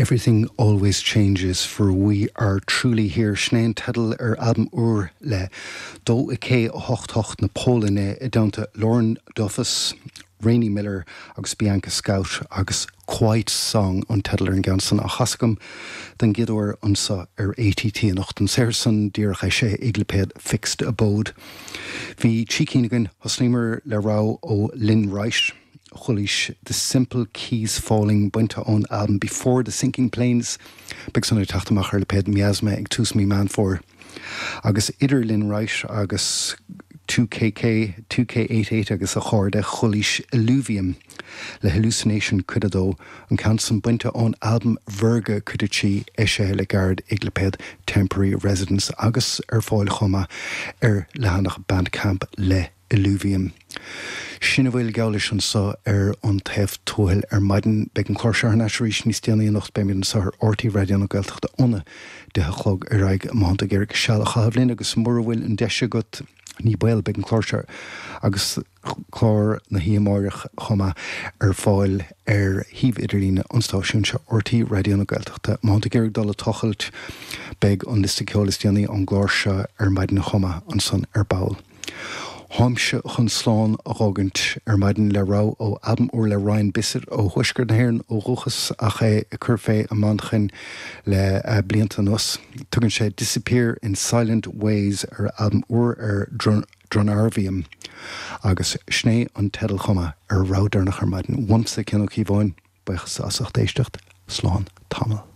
Everything Always Changes for We Are Truly Here, sin é an teideal ar albam úr le 2K 8 8 na Polainne i dteannta Lauren Duffus, Rainey Miller agus Bianca Scout agus Quiet Song an teideal ar an gceann san á chasadh agam den gcéad uair anso ar ATT anocht. An saothar san díreach eisithe ag lipéad Fixed Abode. Bhí trí cinn againn, thosnaíomar le rogha ó Lynn Wright, Chualaís The Simple Keys Falling bainte ón albam Before the Sinking Planes, beidh san ag teacht amach ar lipéad Miasma ag tús mí Meán Fómhair. Agus idir Lynn Wright agus 2KK, 2K88 agus a chairde, chualaís Illuvium le Hallucination Cuid 2, an ceann san bainte ón albam Virga Cuid 3, eisithe le gairid ag lipéad Temporary Residence agus ar fáil chomh maith ar leathanach Bandcamp le Illuvium. Sin a bhfuil geall leis anso ar An Taobh Tuathail ar maidin. Beidh an clár seo thar n-ais arís níos déanaí anocht. Beimid anso ar RTÉ Raidió na Gaeltachta óna 10 a chlog ar aghaidh. Má thánn tú ag iarraidh seal a chaitheamh linn agus mura bhfuil an deis agat, ní baol, beidh an clár seo agus clár na hoíche amáireach chomh maith ar fáil ar shuíomh idirlíne an stáisiúin seo, RTÉ Raidió na Gaeltachta. Má thánn tú ag iarraidh dul ag tochailt, beidh an liosta ceoil is déanaí ón gclár seo ar maidin chomh maith ansan ar ball. Táimse chun slán a dh'fhágaint ar maidin le rogha ó albam úr le Ryan Bissett ó thuaisceart na hÉireann ó dhúchas ach é ag cur fé i Manchain le blianta anuas. Tugann sé Disappear in Silent Ways ar a albam úr ar Dronarvium agus sin é an teideal chomh maith ar rogha deireanach ar maidin. Uaimse, Cian Ó Cíobháin, buíochas as ucht éisteacht. Slán tamall.